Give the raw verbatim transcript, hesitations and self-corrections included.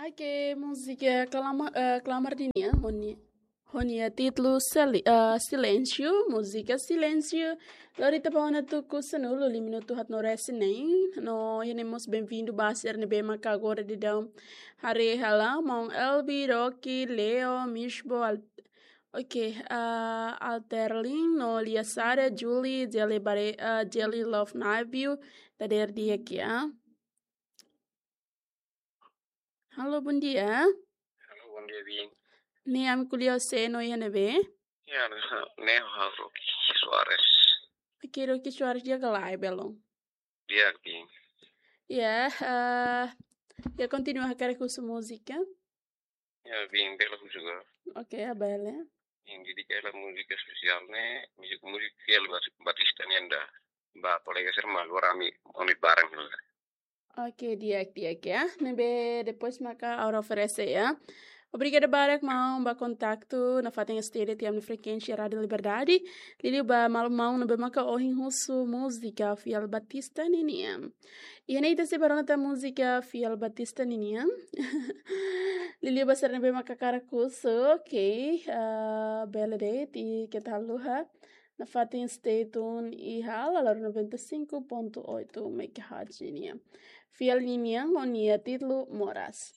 Oke, múzika Klamar, eh, Klamar ninian, ho nia, ho nia títulu Seli-, eh, Silêncio, múzika Silêncio. Lori ita ba ona tuku sanulu li minutu haat no resin neen. No iha ne'e mós benvindu ba sira ne'ebé maka agora daudaun haree hela, maun Elbi, Rocky, Leo, Mishbo, Al-, oke, eh, Alterlin, no Lia Sara, Julie, Jelly Bare-, eh, Jelly Love Navio, dadeer di'ak ya. Halo, bondia. Halo, bondia, biin. Ne'e ami ko'alia ho sé no iha ne'ebé? Ya, ne'e ha'u Rocky Soares. Oke, Rocky Soares, di'ak ka lae belun? Di'ak, biin. Ya, eh, ya kontinua hakarak husu múzika? Ya, biin, bele juga. Oke, ya, bele. Yang jadi kayak múzika sosiál ne'e, múzika, múzika fiél Bas-, Batista nian ida. Ba kolega sira malu rami, oni barang juga. Oke, di'ak, di'ak ya. Ne'ebé depois maka ha'u oferese ya. Obrigada barak maun ba kontaktu nafatin STD tiam na frekuénsia Rádio Liberdade. Liuliu ba maun-maun ne'ebé maka ohin husu múzika fiél Batista ninian. Iha ne'e ita sei bá rona tan múzika fiél Batista ninian. Liuliu ba sira ne'ebé maka hakarak husu, oke. Ah, bele de'it, keta haluha nafatin stay tune iha Lalaro noventa e cinco ponto oito megahertz nian. Fiél ninian ho nia títulu Moras.